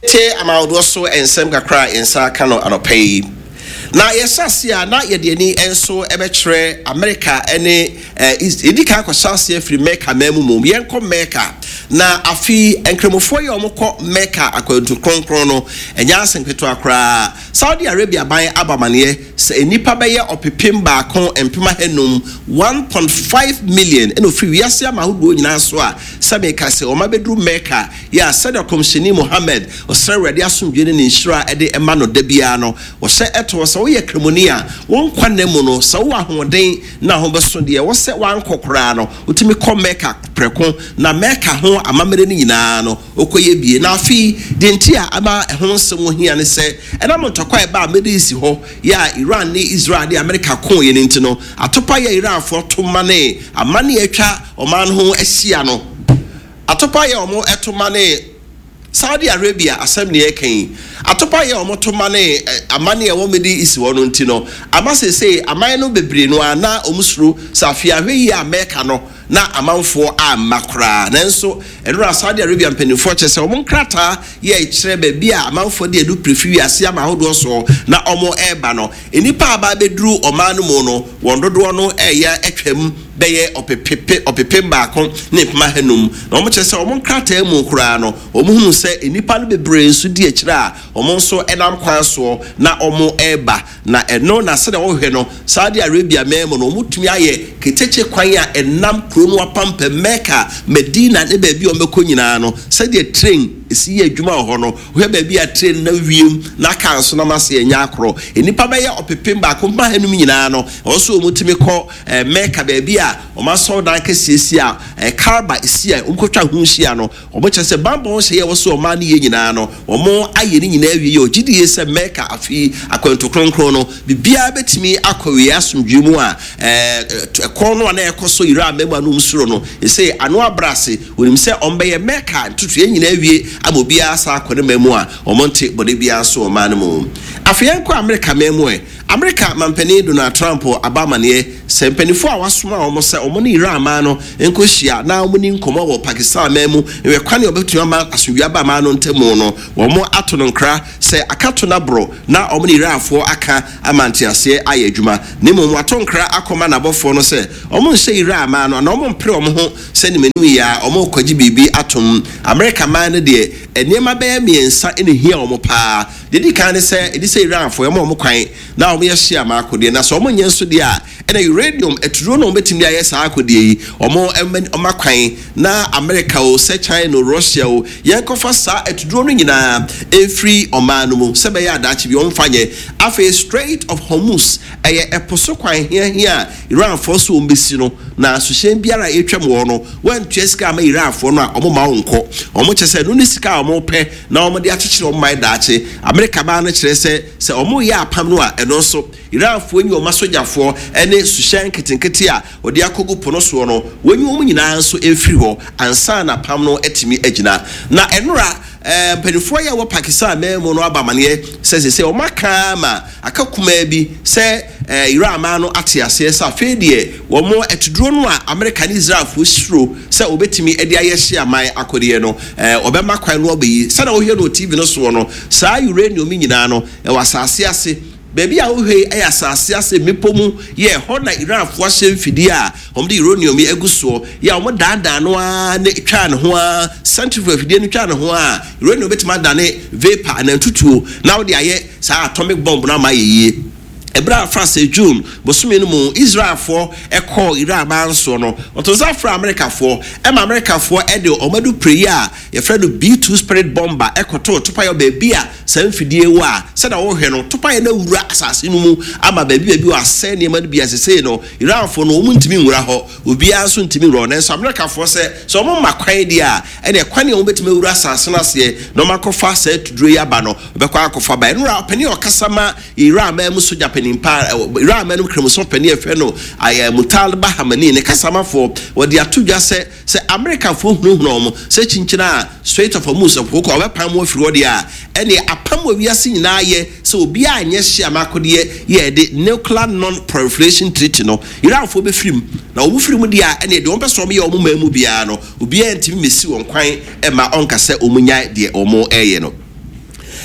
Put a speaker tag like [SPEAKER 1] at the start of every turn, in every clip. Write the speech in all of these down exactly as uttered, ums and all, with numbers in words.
[SPEAKER 1] Tie amahodoɔ so nsɛm kakra a yɛn nsa aka no anɔpa yi. Na yɛhyɛ ase a, na yɛde ani nso bɛkyerɛ Amerika ne yɛdi kan akɔhyɛ aseɛ firi Mecca man mu mmom. Yɛnkɔ Mecca. Na afei Nkramofoɔ yi a wɔkɔ Mecca akwantu kronkron no, ɛnyɛ ase nketewa koraa. Saudi Arabia ban aba amaneɛ sɛ nnipa bɛyɛ ɔpepem baako mpem ahanum, one point five million, ɛna ofiri wiase ama ahodoɔ nyinaa so a sɛ meka sɛ wɔn abɛduru Mecca yɛ a, sɛdeɛ Ɔkɔmhyɛni Muhammad, ɔsrɛ Awurade asomdwe ne ne nhyira de ɛma no da biara no, wɔhyɛ ɛto sɛ woyɛ kramoni a, wɔn nkwa nna mu no, sɛ wowɔ ahoɔden na ho bɛso deɛ, ɛwɔ sɛ wankɔ koraa no, wotumi kɔ Mecca prɛko na Mecca ho amammerɛ no nyinaa no wokɔyɛ bie. Na afei deɛ nti a ama ɛho nsɛm ho hia ne sɛ, ɛnam ntɔkwa a ɛba a Middle East hɔ yɛ a Iran ne Israel ne America ko yɛ no nti no, atopa yɛ Iranfoɔ to ma ne amane atwa ɔman no ho ahyia no, atopa yɛ ɔmo ɛto ma ne Saudi Arabia asɛm ne ɛka yi, atopa yɛ ɔmo to ma ne amane a ɛwɔ Middle East hɔ no nti no, ama seesei aman no bebree no a na ɔmo suro sɛ afei ahwɛ yi a Mecca no na amanfoɔ amma koraa. Nanso ɛnora Saudi Arabia mpanimfoɔ kyerɛ sɛ ɔmo nkrataa yɛ kyerɛ baabi a amanfoɔ de adu pere wiase ama ahodoɔ soɔ na ɔmo ɛreba no, nnipa a aba abɛduru ɔman no mu no, wɔn dodoɔ no ɛyɛ atwam bɛyɛ ɔpepepe ɔpepem baako ne mpem ahanum. Na wɔn kyerɛ sɛ wɔn nkrataa mu koraa no, wɔn hunu sɛ nnipa no bebree nso di akyire a wɔn nso nam kwan soɔ na wɔn ɛreba. Na ɛno na sɛdeɛ wɔhwɛ no, Saudi Arabia man mu no, wɔn tumi ayɛ ketekye kwan a ɛnam kuro no apampam, Mecca, Medina ne baabi a wɔbɛkɔ nyinaa no, sɛdeɛ train esi yɛ adwuma wɔ hɔ no. Wohwɛ baabi a train na wiem na kaa nso nam ase ɛnyɛ akorɔ. Nnipa bɛyɛ ɔpepem baako mpa hanum nyinaa no, wɔn nso wɔn tumi kɔ ɛɛ Mecca, baabi a wɔn asɔredan kɛseɛ si a ɛɛ Kaaba si a wɔn kɔtwa ho hyia no. Wɔn kyerɛ sɛ bambɔ hyɛ yɛ wɔ so ɔman no yɛ nyinaa no, wɔn ayɛ ne nyinaa awie yɛ ɔgye die sɛ Mecca afi akwantu kronkron no, biribiara bɛtumi akɔ wie asomdwe mu a ɛɛ ɛkɔn no a na ɛkɔ so Iran mɛmu a no soro no ɛsɛ ano abrase. Onim sɛ wɔn bɛyɛ Mecca ntutu yɛn nyinaa awie ama obiara sa akɔ ne man mu a wɔn nte bɔde biara so ɔman no mu. Afei yɛn kɔ Amerika man mu. Ɛ Amerika mampanin Donald Trump aba amaneɛ sɛ mpanimfoɔ a wasoma wɔn sɛ wɔn ne Iran man no nkɔhyia na wɔn ni nkɔmɔ wɔ Pakistan man mu nwɛ kwan a wɔbɛtumi ama asomdwe aba man no ntam no, wɔn ato no nkra sɛ akato no aborɔ na wɔn ne Iranfoɔ aka ama nteaseɛ ayɛ adwuma. Na mmom wato nkra akɔma n'abɔfoɔ no sɛ wɔn nhyɛ Iran man no anaa wɔn mpere wɔn ho sɛ ne manu yi a wɔn rekɔgye biribi atom. Amerika man no deɛ, nneɛma bɛyɛ mmiɛnsa na ehia wɔn paa. Deɛ di kan ne sɛ ɛdi sɛ Iranfoɔ yɛma wɔn kwan na wɔn yɛ hyia ama akodeɛ, na sɛ wɔn nyɛ nso deɛ a, ɛna uranium atuduro na wɔn bɛtumi de ayɛ saa akodeɛ yi, wɔn ɛmɛ wɔn akwan na Amerika o, sɛ China o, Russia o, yɛn kɔfa saa atuduro no nyinaa efiri ɔman no mu sɛ bɛyɛ adaakye bi wɔn fa nyɛ. Afei Strait of Hormuz, ɛyɛ ɛpo so kwan hiahia a Iranfoɔ so wɔn bɛsi no na suhyɛn biara a ɛtwam wɔ no, wɔntua sika ama Iranfoɔ no a, wɔn ma wɔn nkɔ. Wɔn kyerɛ sɛ ɛno ne sika a wɔn pɛ na wɔn de akyekyere wɔn man daakye. Amerika baa no kyerɛ sɛ sɛ wɔn yɛ apam no a, ɛno nso Iranfoɔ nyi wɔn asogyafoɔ ne suhyɛn nketenkete a wɔde akɔgu po no soɔ no, wɔnyi wɔn nyinaa nso mfiri hɔ ansa na apam no atumi agyina. Na ɛnora ɛɛ mpanimfoɔ yi a wɔ Pakistan man mu no aba amaneɛ sɛ sɛ sɛ wɔn aka ama aka kumaa bi sɛ ɛɛ Iran man no ate aseɛ sɛ afei deɛ wɔn atuduro no a Amerika ne Israelfoɔ suro sɛ wɔbɛtumi de ayɛ hye aman akodeɛ no, ɛɛ ɔbɛma kwan no ɔbɛyi. Sɛdeɛ wɔhwɛ no wɔ T V no soɔ no, saa uranium nyinaa no ɛwɔ asase ase. Baabi a wohwɛ yi yɛ asase ase mmepɔ mu yɛ hɔ na Iranfoɔ ahyɛ mfidie a wɔde uranium yi agu soɔ yɛ a wɔn daadaa no ara ne twa ne ho ara, centrifuge afidie no twa ne ho a, uranium bɛtumi adane vapor anaa ntutuo na wɔde ayɛ saa atomic bomb no ama ayɛ yie. Ɛberɛ a fa sɛ June bosome no mu Israelfoɔ ɛkɔɔ Iran man soɔ no, ɔto nsa frɛ Amerikafoɔ ɛma Amerikafoɔ ɛde ɔmo adu yi a yɛfrɛ no B two Spirit bomber ɛkɔtoo topayɛ baabi a saa mfidie wɔ a, sɛdeɛ wɔhwɛ no, topayɛ no awura asase no mu ama baabi baabi wɔ asɛe nneɛma no bi. Asesei no Iranfoɔ no wɔn ntumi nwura hɔ, obiara nso ntumi nwura hɔ. Nanso Amerikafoɔ sɛ sɛ wɔn ma kwan deɛ a, ɛnna kwan a wɔn bɛtumi awura asase no aseɛ na wɔn akɔfa saa tuduro yi aba no, wɔbɛkɔ akɔfa ba. Ɛnura ɔpanin a ɔkasa ma Iran man mu sogya panin pa, Iran man mu kramoso panin a yɛfrɛ no ayɛ Mojtaba Khamenei, ne kasamafoɔ wɔde ato dwa sɛ sɛ Amerikafoɔ hunahuna wɔn sɛ kyinkyini a Strait of Hormuz koko a wɔbɛpam mu afiri hɔ deɛ a, ɛne apam wɔ wiase nyinaa yɛ sɛ obiara nyɛ hye amakodeɛ yɛ de Nuclear Non Proliferation Treaty no, Iranfoɔ bɛfiri mu. Na wɔn firi mu deɛ a, ɛne deɛ wɔn pɛ sɛ wɔn yɛ wɔn man mu biara no, obiara ntumi mmɛsi wɔn kwan ɛma ɔnka sɛ wɔn nya deɛ wɔn ɛyɛ no.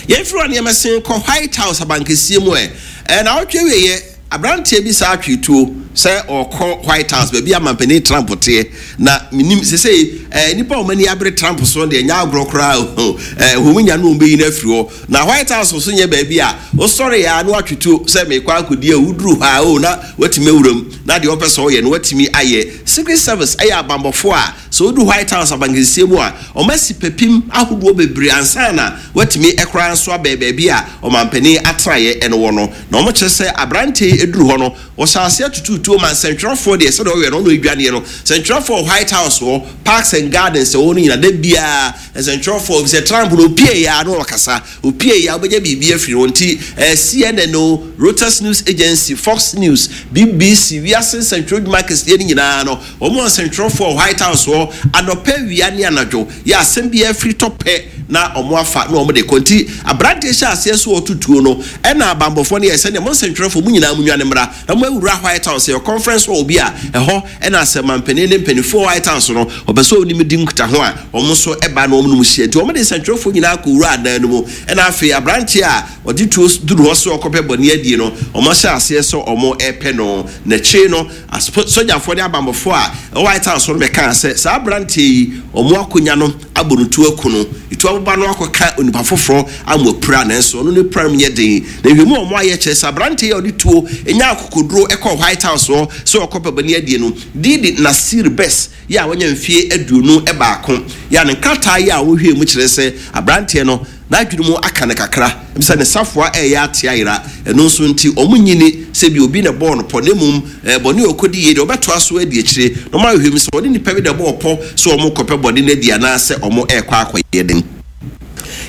[SPEAKER 1] Yɛmfiri hɔ nneɛma sen kɔ White House abankɛseɛ mu ɛ. Ɛna awɔtwe wieɛ, aberanteɛ bi saa atwe tuo sɛ ɔkɔ White House baabi a mampanin Trump teɛ. Na menim sesei ɛɛ nipa a wɔn ani abere Trump so deɛ, nyɛ agorɔ koraa o. ɛɛ wɔn nya no, wɔn bɛyi no afiri hɔ. Na White House nso nyɛ baabi a wosɔre ya na watwe tuo sɛ mekɔ akɔdi a woduru hɔ a o na watumi awura mu na deɛ ɔpɛ sɛ ɔyɛ no watumi ayɛ. Secret Service ɛyɛ abanbɔfoɔ a sɛ wodu White House abankɛseɛ mu a, ɔma si pɛpim ahodoɔ bebree ansa na watumi ɛkoraa nso abɛɛ baabi a ɔmampanin atenaeɛ ɛno wɔ no. Na wɔn kyerɛ sɛ aberanteɛ yi eduru hɔ no, wɔhyɛ aseɛ tututuo ma nsɛntwerɛfoɔ deɛ, sɛdeɛ ɔyɛ no ɔno edwaneɛ no, nsɛntwerɛfoɔ White House hɔ, Parks and Gardens ɛwɔ no nyinaa da biara nsɛntwerɛfoɔ sɛ Trump no opie ya no, ɔkasa opie ya, wobɛgye biribi afiri wɔn ti. ɛɛ C N N o, Reuters News Agency, Fox News, B B C, wiase nsɛntwerɛ dwuma kɛseɛ no nyinaa no, wɔn wɔ nsɛntwerɛfoɔ White House hɔ anɔpɛ, wia ne anadwo yɛ asɛm bi afiri tɔ pɛ na wɔn afa na wɔn de kɔ. Nti aberanteɛ hyɛ aseɛ so ɔtutuo no, ɛna abanbɔfoɔ no yɛ sɛdeɛ mo nsɛntwerɛfoɔ mo nyinaa mo nwane mmra na mo awura White House. Yɛ conference hall bi a ɛhɔ ɛna asɛ mampanin ne mpanimfoɔ White House no ɔpɛ sɛ onim di nkita ho a, wɔn nso ɛba na wɔn nom hyia. Nti wɔn de nsɛntwerɛfoɔ nyinaa kɔ wura adan no mu, ɛna afei aberanteɛ a ɔde tuo duru hɔ so ɔkɔpɛ bɔne adie no, wɔn ahyɛ aseɛ sɛ wɔn ɛrepɛ no. N'akyire no, sogyafoɔ ne abanbɔfoɔ a ɛwɔ White House no bɛka sɛ saa aberanteɛ yi, wɔn akonnwa no abɔ no tuo aku no, etu aboba no akɔka onipa foforɔ ama apira, nanso ɔno ne pira mu yɛ den. Na nhwɛmu a wɔn ayɛ kyerɛ sɛ aberanteɛ yi a ɔde tuo enya akokoduro ɛkɔ White House hɔ sɛ ɔkɔpɛ bɔne adie no, didi Nasir Best yɛ a wɔnya mfie aduonu baako, yɛ a ne nkrataa yi a wɔhwɛ mu kyerɛ sɛ aberanteɛ no n'adwene mu aka no kakra sɛ ne safoa ɛyɛ ate ayera. Ɛno nso nti ɔmo nyini sɛ bi obi na bɔɔ no pɔ, ne mmom ɛɛ bɔne a ɔkɔdi yie deɛ, ɔbɛtoa so adi akyire na ɔmo ahwɛ mu sɛ ɔne nipa bi na ɛbɔɔ pɔ sɛ ɔmo kɔpɛ bɔne no adi anaasɛ ɔmo ɛrekɔ akɔyɛ den.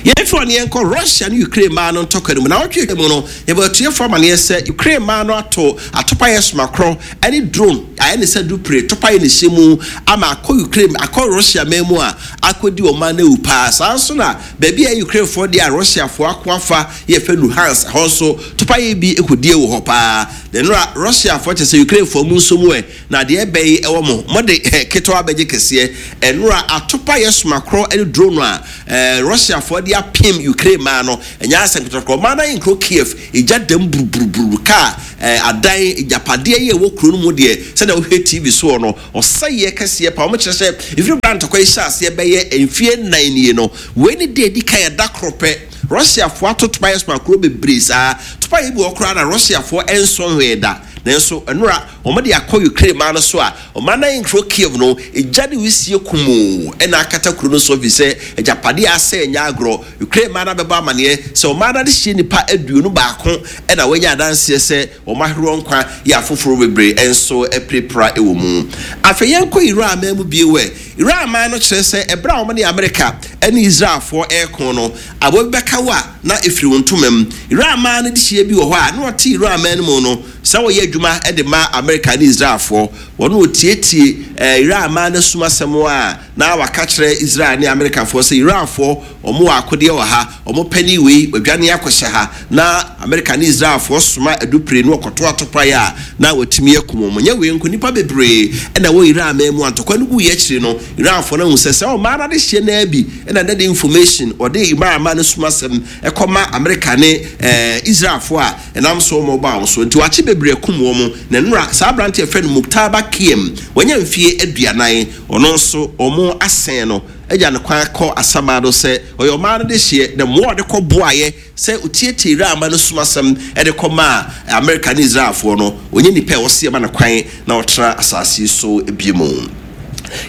[SPEAKER 1] Yɛmfiri ɔne yɛnkɔ Russia ne Ukraine maa no ntɔkwa no mu. Na wɔtwe mu no, yɛbɛ atuafoɔ amaneɛ sɛ Ukraine maa no ato atopayɛ somakorɔ ne drone ayɛ ne sɛ dupere topayɛ ne hyɛ mu ama akɔ Ukraine, akɔ Russia man mu a akɔdi ɔman no awu paa. Saa nso na baabi a Ukrainefoɔ deɛ a Russiafoɔ ako afa yɛfɛ Luhansk hɔ nso, topayɛ bi kɔdie wɔ hɔ paa. Na nnora Russiafoɔ kyɛ sɛ Ukrainefoɔ mu nso mu ɛ na deɛ ɛbɛyi ɛwɔ mo mɔde ketewa bɛgye kɛseɛ. Ɛnora atopayɛ somakorɔ ne drone a ɛɛ Russiafoɔ de apem Ukraine maa no, ɛnyɛ asɛm ketewa. Ɔman no ayɛ nkuro Kiev egya dam buruburuburu, kaa ɛɛ adan, agyapadeɛ yi a ɛwɔ kuro no mu deɛ, sɛdeɛ wohwɛ T V soɔ no, ɔsɛeɛ kɛseɛ pa. Wɔn kyerɛ sɛ efiri bra ntɔkwa yi hyɛ aseɛ bɛyɛ mfie nnan nie no, wei ne deɛ edi kan ɛda koro pɛ Russiafoɔ ato topayɛ somakorɔ bebree saa. Topayɛ bi wɔ koraa na Russiafoɔ ɛnsɔn hwee da, nanso nnora wɔn de akɔ Ukraine maa no so a ɔman no nkuro Kiev no, egya ne wisie kumoo ɛna akata kuro no so fi sɛ agyapadeɛ asɛ nyɛ agorɔ. Ukraine maa no abɛbɔ amaneɛ sɛ ɔman no adehyɛ nipa aduonu baako ɛna wɔanya adanseɛ sɛ wɔn ahorow nkwa yɛ, afoforɔ bebree nso apirapira wɔ mu. Afei yɛnkɔ Iran man mu bio ɛ. Iran man no kyerɛ sɛ ɛberɛ a wɔn ne Amerika ne Israelfoɔ ɛreko no, aboa bi bɛka wo a na ɛfiri wo ntoma mu. Iran man no de hyia bi wɔ hɔ a na ɔte Iran man no mu no sɛ wɔyɛ adwuma de ma Amerika ne Israelfoɔ. Wɔn wɔtietie ɛɛ Iran man no sum asɛm a na waka kyerɛ Israel ne Amerikafoɔ sɛ Iranfoɔ wɔn wɔ akodeɛ wɔ ha, wɔn panyin wei wadwane akɔhyɛ ha, na Amerika ne Israelfoɔ soma adupire no ɔkɔto atopaeɛ a na wɔtumi akum wɔn. Nyɛ wei nko, nipa bebree ɛna wɔ Iran man mu a ntɔkwa no gu yɛ akyire no, Iranfoɔ no ahu sɛ sɛ ɔmaa no adehyɛ naa bi ɛna ne de information ɔde Iran man no sum asɛm ɛkɔma Amerika ne ɛɛ Israelfoɔ a ɛnam so wɔn ba wɔn so nti wakye bebree akum wɔn. Na nnora saa aberante yɛfrɛ no Mujtaba Kiem, wɔnyɛ mfie aduanan, ɔno nso wɔn asɛn no agya ne kwan kɔ asamado sɛ ɔyɛ ɔman no de hyeɛ na mmoa ɔde kɔ boayɛ sɛ otietie Iran ma no sum asɛm ɛde kɔ maa Amerika ne Israelfoɔ no. Ɔnyɛ nipa a wɔsi ɛma no kwan na ɔtena asase so ebie mu.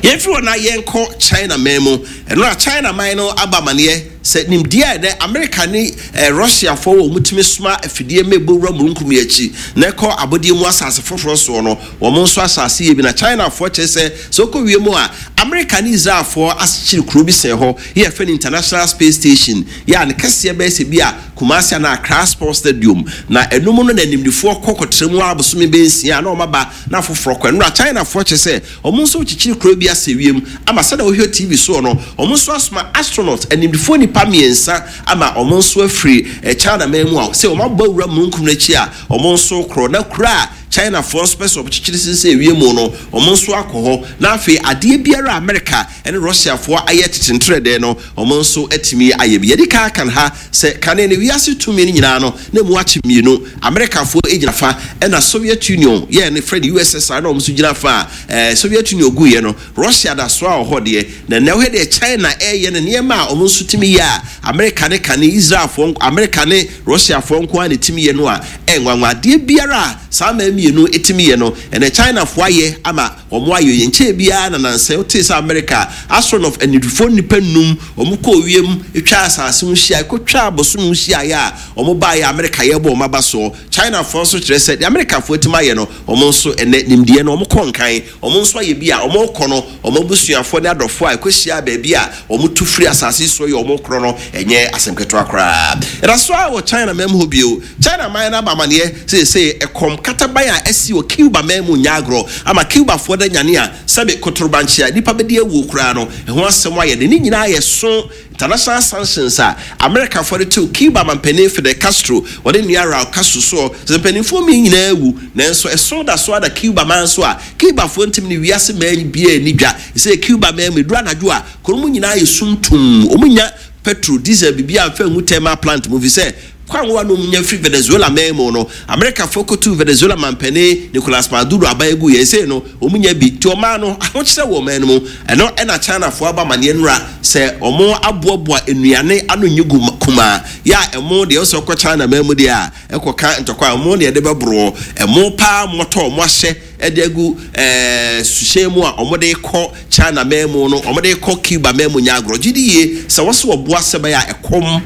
[SPEAKER 1] Yɛmfiri hɔ na yɛnkɔ China man mu. Ɛno a China man no aba amaneɛ sɛ nimdeɛ a ɛnɛ Amerika ne eh, Russiafoɔ wɔ mutumi soma afidie ma ɛbɔ wura mununkum yi akyi na ɛkɔ abɔdeɛ mu asase foforɔ soɔ no, wɔn nso asase yɛ bi. Na Chinafoɔ kyerɛ sɛ sɛ wokɔ wiem a, Amerika ne Israelfoɔ asekyere kuro bi sɛn hɔ yɛ yɛfrɛ no International Space Station, yɛ a ne kɛseɛ bɛyɛ sɛ bi a Kumasi anaa Accra Sports Stadium. Na ɛnum no na nimdifoɔ kɔ kɔtena mu abosome bɛnsia na wɔn aba na afoforɔ kɔ. Ɛnora Chinafoɔ kyerɛ sɛ wɔn nso kyekyere kuro bi asɛ wiem ama sɛdeɛ wohwɛ T V soɔ no, wɔn nso asoma astronaut animdifoɔ nipa mmiɛnsa ama wɔn nso afiri China man mu a sɛ wɔn abɔ awura mununkum n'akyi a wɔn nso korɔ na kuro a Chinafoɔ nso pɛ sɛ ɔkyekyere sensɛn wiem no, wɔn nso akɔ hɔ. Na afei adeɛ biara a America ne Russiafoɔ ayɛ tetentrɛdɛɛ no, wɔn nso atumi ayɛ bi. Yɛde kan kan ha sɛ kane ne wiase tumi no nyinaa no na mu akye mmienu: Amerikafoɔ gyina fa, ɛna Soviet Union yɛ ne frɛ no U S S R na wɔn nso gyina fa. A ɛɛ Soviet Union guiɛ no, Russia da so a wɔ hɔ deɛ. Na ɛnɛ wohɛ deɛ China ɛyɛ no, nneɛma a wɔn nso tumi yɛ a Amerika ne kane Israelfoɔ, Amerika ne Russiafoɔ nko ara na tumi yɛ no a, ɛnwanwa. Adeɛ biara a saa mmaa mmienu tumi yɛ no, ɛnɛ Chinafoɔ ayɛ ama wɔn ayɛ yɛn nkyɛn biara. Na nansɛ wote sɛ Amerika astronaut anidifoɔ nipa num wɔn kɔ wiem twa asase ho hyia, kɔtwa abosom ho hyia yɛ a wɔn baayɛ, Amerika yɛ bɔ wɔn aba soɔ. Chinafoɔ nso kyerɛ sɛ deɛ Amerikafoɔ atumi ayɛ no, wɔn nso ɛnɛ nimdeɛ no wɔn kɔ nkan, wɔn nso ayɛ bi a wɔn kɔ no. Wɔn abusuafoɔ ne adɔfoɔ a ɛkɔhyia baabi a wɔn tu firi asase soɔ yɛ wɔn korɔ no, ɛnyɛ asɛm ketewa koraa. Ɛda so a wɔ China man mu hɔ bio, China man no aba amaneɛ sɛ ɛkɔm kataban a ɛsi wɔ Cuba man mu nyɛ agorɔ ama Cubafoɔ da nyane a sɛbe kotorobankye a nipa bɛdi awuo koraa no ɛho asɛm ayɛ de ne nyinaa yɛ so. International sanctions a Amerikafoɔ de tew Cuba mampanin Fidel Castro, wɔde nua Raul Castro soɔ sɛ mpanimfoɔ mi nyinaa awu, nanso ɛso da so ada Cuba man so a Cubafoɔ ntumi ne wiase man biara ni dwa sɛ Cuba man mu eduru anadwo a kurom nyinaa yɛ sumtum. Wɔn nya petrol, diesel, biribi a nfɛn ngu thermal plant mu fi sɛ kwan wa nom nya firi Venezuela man mu no. Amerikafoɔ kotu Venezuela mampanin Nicolas Maduro aban egu yɛn sɛ no wɔn nya bi nti ɔman no ahokyerɛ wɔ ɔman no mu. Ɛno ɛna Chinafoɔ aba amaneɛ nura sɛ wɔn aboaboa nnuane ano nye gu kumaa yɛ a ɛmo deɛ ɔsɛ ɔkɔ China man mu deɛ a ɛkɔka ntɔkwa a ɛmo deɛ ɛde bɛboro ɛmo paa mɔtɔ ɔmo ahyɛ ɛde agu ɛɛ suhyɛn mu a wɔde kɔ China man mu no, wɔde kɔ Cuba man mu nya agorɔ. Gye di yie sɛ wɔsɛ wɔboa sɛ bɛyɛ a ɛkɔm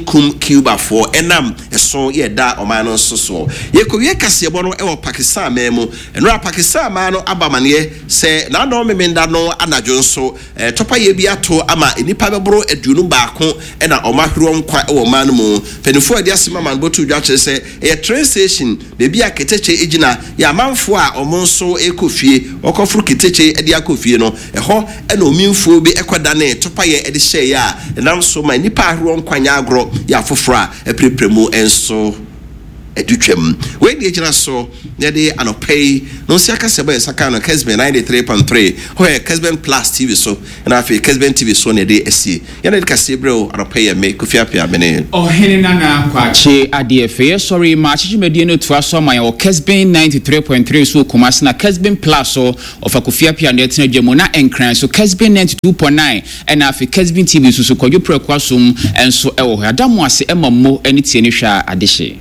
[SPEAKER 1] nkum Cubafoɔ ɛnam ɛso yɛ da ɔman no nso soɔ. Yɛkɔwie kaseɛbɔ no ɛwɔ Pakistan man mu. Ɛnora Pakistan man no aba amaneɛ sɛ n'adɔn memenda no anadwo nso ɛɛ tɔpayɛ bi ato ama nnipa bɛboro aduonu baako ɛna ɔmo ahwerɛ nkwa ɛwɔ ɔman no mu. Mpanimfoɔ a yɛde asɛm ama no bɔto dwa kyerɛ sɛ ɛyɛ train station beebi a keteke gyina yɛ amanfoɔ a ɔmo nso ɛkɔ fie, wɔkɔforo keteke de akɔ fie no, ɛhɔ ɛna omimfoɔ bi ɛkɔdane tɔpayɛ ɛde hyɛeɛ a ɛnam so ma nnipa ahoroɔ nkwa nyɛ agorɔ yɛ afoforɔ a ɛpirepire mu nso ɛdu twam. Wei deɛ gyina so na yɛde anɔpa yi na ɔsi akasɛ bɛyɛ saka no Kesben ninety-three point three hɔ yɛ Kesben Plus T V so, ɛna afei Kesben T V so na yɛde asie yɛn de kaseɛ berɛ o. Anɔpa yi yɛ me Kofi Apia mene
[SPEAKER 2] Ɔhene Nana Kwakye adeɛ fɛ. Yɛsɔre ma akyekyemadie no toa so ama yɛn wɔ Kesben ninety-three point three so wɔ Kumase, na Kesben Plus so ɔfa Kofi Apia no ɛtena dwa mu, na Nkran so Kesben ninety-two point nine, ɛna afei Kesben T V nso so Kwadwo Prɛko Asom nso ɛwɔ hɔ. Ada mo ase ɛma mo ne tie ne hwɛ a adehye.